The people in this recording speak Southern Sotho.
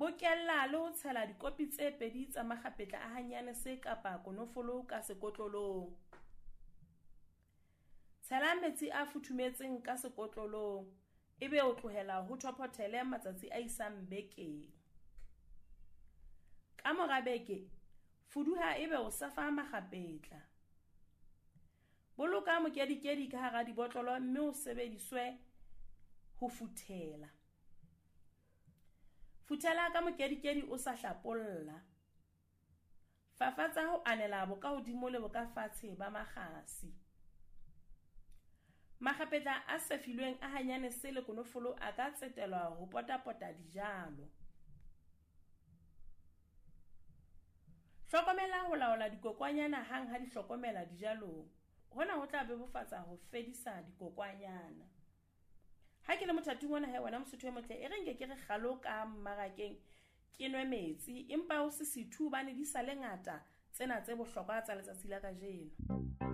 Bokella le ho tshela dikopi tse 2 tsa makgapetla a hanyanese kapa konofolo ka sekotlolong. Tshela metsi a futhumetseng ka sekotlolong ebe o tlohela ho thophothele matsatsi a isang bekeng. Ka mora beke, fuduha ebe o sefa makgapetla. Boloka mokedikedi ka hara dibotlolo mme o sebediswe ho futhela. Futhela ka mokedikedi o sa hlapolla. Fafatsa ho anela bokahodimo le bokafatshe ba makgasi. Makgapetla a sefilweng a hanyanese le konofolo a ka tsetelwa ho potapota dijalo. Hlokomela ho laola dikokwanyana hang ha di hlokomela dijalong. Hona ho tla bebofatsa ho fedisa dikokwanyana. Ha ke le mothating ona he wena Mosotho e motle, e re nke ke re kgalo ka mmarakeng ke nwe metsi, empa ho se sethu hobane di sa le ngata tsena tse bohlokwa tsa letsatsi la kajeno.